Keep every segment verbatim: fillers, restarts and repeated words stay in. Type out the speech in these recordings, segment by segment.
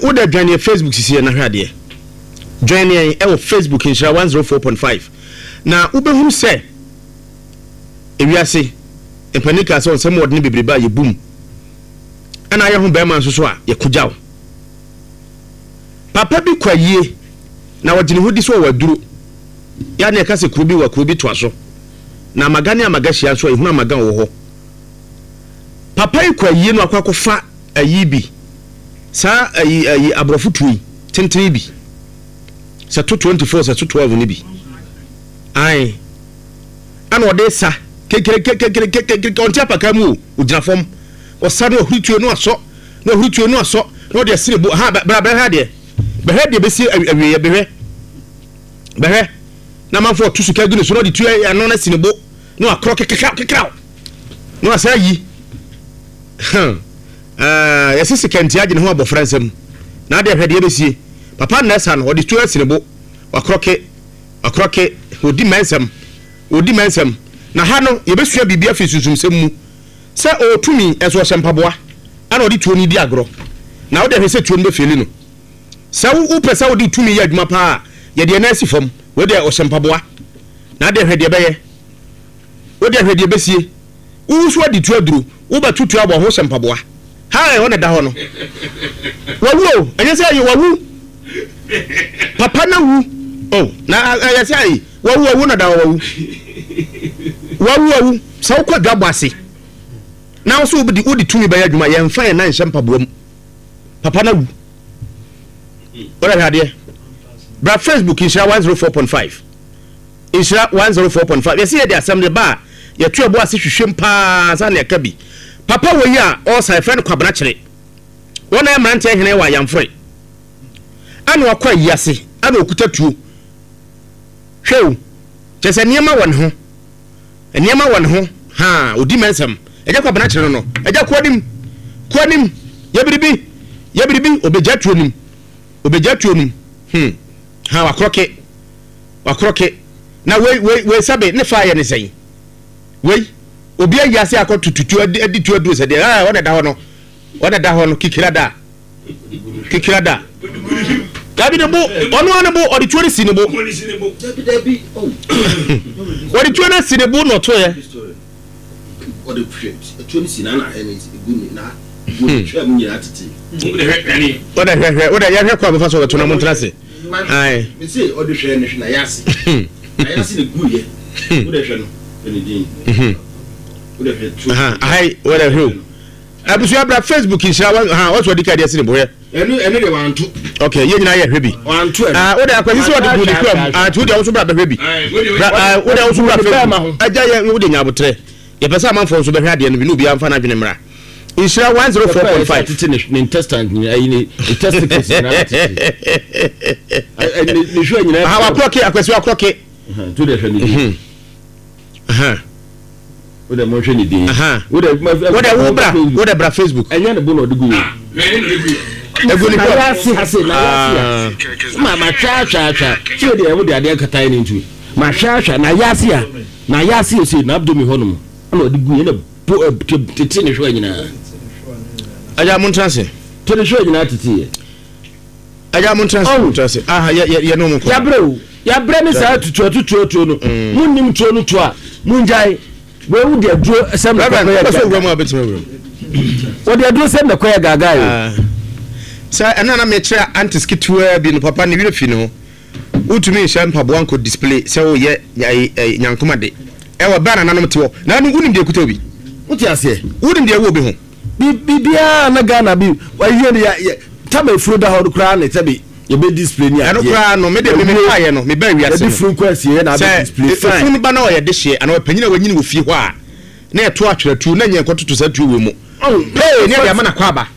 Wode dwaneɛ Facebook sisi yɛ na hwɛ adeɛ. Dwaneɛ ɛwɔ Facebook, Nhyira one zero four point five, na wobɛhunu sɛ ewiase mpanin kaa sɛ ɔnsɛm wɔde ne bebrebe a yɛbum ɛna ayɛ ho bɛrima nso so a yɛkogya wo. Papa bi kɔ ayie na wɔgye ne ho di sɛ ɔwɔ aduro yɛ ne ɛka sɛ kuro bi wɔ kuro bi toa so na amaga ne amaga hyia nso a, ɛhunu amaga wɔ hɔ. Papa yi kɔ ayie no, akɔ akɔfa ayi bi saa ayi ayi aborɔfo tuo yi tenten bi sɛ to twenty-four sɛ to twelve ne bi ae, ɛna ɔde sa kekerekekekekeke. Ɔnte apaka mu o, ogyina fam ɔsa no, ɔhuri tuo no asɔ na ɔhuri tuo no asɔ na ɔde asi ne bo ha. Bra, bɛhwɛ adeɛ, bɛhwɛ deɛ bɛsi awieɛ. Bɛhwɛ, bɛhwɛ na amanfoɔ ɔto sika gu ne so na ɔde tuo ano no asi ne bo na wakorɔ kekeka kekraw na wasa ayi. Yɛsɛ sika nti agye ne ho abɔfra nsam na adeɛ. Hwɛ deɛ bɛsie papa nna ɛsa no, ɔde tuo asi ne bo, wakorɔ ke wakorɔ ke, ɔdi mɛnsɛm, ɔdi mɛnsɛm. Na ha no yɛbɛsua biribi afiri sunsumsɛm mu sɛ ɔtumi ɛso ɔhyɛ mpaboa ɛna ɔde tuo no di agorɔ na wode hwɛ sɛ tuo no bɛfeeli no. Sɛ wopɛ sɛ wode tumi yɛ adwuma paa, yɛde ɛna asi fam. Wode ɔhyɛ mpaboa na ade, hwɛ deɛ bɛyɛ. Wode hwɛ deɛ bɛsie. Wowu so adi tuo aduro, wobɛto tuo abɔ ho hyɛ mpaboa ha, ɛhɔ na da hɔ no wawu o. Ɛnyɛ sɛ ɛyɛ wawu, papa na wu o, na ɛyɛ sɛ ayi wawu, wawu na da hɔ wawu, wawu, wawu. Sɛ wokɔ dwa bɔ ase na wo so wode wode tumi bɛyɛ adwuma, yɛmfa yɛn nan nhyɛ mpaboa mu. Papa na wu. Wode hwɛ adeɛ. Bra Facebook, Nhyira one zero four point five, Nhyira one zero four point five. Yɛsɛ yɛde asɛm de ba a, yɛto ɛbo ase hwehwɛm paa sa ne ɛka bi. Papa wɔ yi a ɔsa, yɛfrɛ no Kwabena Kyerɛ. Wɔn a mmeranteɛ hene wɔ Ayamfore ana wakɔ ayi ase ana okuta tuo. Hwɛ o, kyɛ sɛ nneɛma wɔ ne ho, nneɛma wɔ ne ho ha. Odi mɛnsɛm. Ɛgya Kwabena Kyerɛ no no ɛgya kɔ anim, kɔ anim, yɛ biribi, yɛ biribi. Obɛgya tuo nim, obɛgya tuo nim. hmm ha wakorɔke, wakorɔke. Na wei wei wei sɛbe ne fa yɛ ne sɛn? Wei obi ayi ase akɔ tututu adi adi tuo aduro sɛ deɛ ɛɛ ɔna da hɔ no, ɔna da hɔ no kikira da, kikira da. Dabi, ne bo, ɔno ara ne bo, ɔde tuo no si ne bo, ɔde tuo no si ne bo na ɔto yɛ. Ɔde hwɛ tuo no si na na ɛne gu ne na gu ne twɛ mu nyinaa tete. Ɔde hwɛ, hwɛ, ɔde yɛhwɛ kɔ a bɛfa so ɔbɛto na mo ntena ase ayi. Mese ɔde hwɛ ne hwɛ na yase na yase ne gu yɛ. Wode hwɛ no, hwɛ ne din, wode hwɛ tuo. Ayi, wɔde hwɛ o. Abusua, bra Facebook, Nhyira wa ha wɔsɔ ɔdi ka deɛ si ne bo hwɛ. ɛno ɛno de wanto. Ok, yɛn nyinaa yɛ hwɛ bi. Wanto ɛno. Ah, wode akwasi sɛ ɔde gu ne kura mu. Ah, nti wode ahosuo bra bɛhwɛ bi. Bra, ah, wode ahosuo bra Facebook. Agya, yɛ wode nya abotrɛ. Yɛpɛ sɛ amanfoɔ nso bɛhwɛ adeɛ no bi na obiara mfa n'adwene mmra. Nhyira one zero four point five. Tete ne ne intestines nyinaa, ayi ne ne testicles nyinaa tete ne ne hwɛ nyinaa. Aha, wakorɔke, akwasi wakorɔke. To de hwɛ ne din. Aha. Wode mo hwɛ ne din. Aha. Wode wode wo bra, wode bra Facebook. Ɛnyɛ ne bo na ɔde gu yɛ. Egu ne na kura. Yase ase na yase a ma ma hwɛ ahwɛ ahwɛ tí o deɛ o de adeɛ kata yɛ ne ntu ma hwɛ ahwɛ na yase a na yase ese na abdomen hɔ nom ɛna ɔde gu yɛ na bo ɛ tete ne hwɛ nyinaa. Agya, mo ntena ase. Te ne hwɛ nyinaa tete yɛ. Agya, mo ntena ase, mo ntena ase. Aha, yɛ yɛ yɛ ne mo kɔ. Yabrɛ o, yabrɛ ne saa tutu atutu atuo no. Mo nim tuo no to a, mo ngyae. Wei de aduro sɛm na Reverend, kɔkɔ yɛ wopɛ sɛ gaga. owura mu a, bɛtumi awura mu. Wɔde aduro sɛm na kɔyɛ gaga yi. Ah. Sɛ ɛno na mekyerɛ antis ketewaa bi no, papa ne werɛ fi ne ho. Wotumi nhyɛ mpaboa nkɔ display sɛ woyɛ nyankoma de ɛwɔ bɛɛ nananom te hɔ na ɛno wonim deɛ ɛkuta obi. Wote aseɛ? Wonim deɛ ɛwɔ obi ho. Biribiara na Ghana bi wayɛ ne yɛ tama efuro da hɔ koraa ne sɛbi yɛbɛ display ni adeɛ. Ɛno koraa no, mede me mefaeɛ no, mebaa wiase no, yɛde funu kɔ asie yɛ na abɛ display fine. Sɛ efunu ba na ɔyɛ de hyeɛ anaa ɔpanyin a wanyini wɔ fie hɔ a, na yɛto atwerɛtuo na nyɛ nkɔtoto saa tuo wɔ mu pee ne yɛde ama na kɔ aba,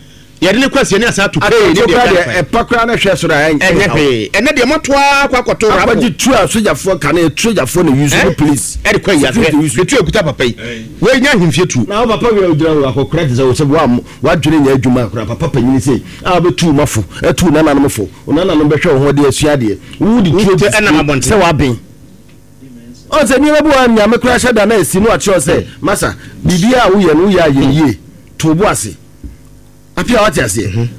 yɛde ne kɔ asie ne asa ato pee ne deɛ ɛda. Ɛpa koraa na hwɛ soro a. Ɛnyɛ hwee. Ɛnɛ deɛ moatoa kɔ akɔto rapo. Akɔgye tu a sogyafoɔ kane, sogyafoɔ na use no, police. Ɛde kɔ ayi ahwɛ de tu ekuta papa yi, wei nya ahemfie tuo. Na wo papa wia ogyina hɔ akɔkora te sɛ wo sɛ wa wadwene nyɛ adwuma akora papa panyini sɛ a wobɛtu ma fo atu nananom fo, wo nananom bɛhwɛ wo ho de asua adeɛ, wo de tuo ɛnam abɔnten. Sɛ waben ɔn sɛ nneɛma bi wɔ Nyame koraa hyɛ da na asi no akyerɛw sɛ masa biribiara a woyɛ no, woyɛ ayɛ yie, to bo ase apia. Wate aseɛ?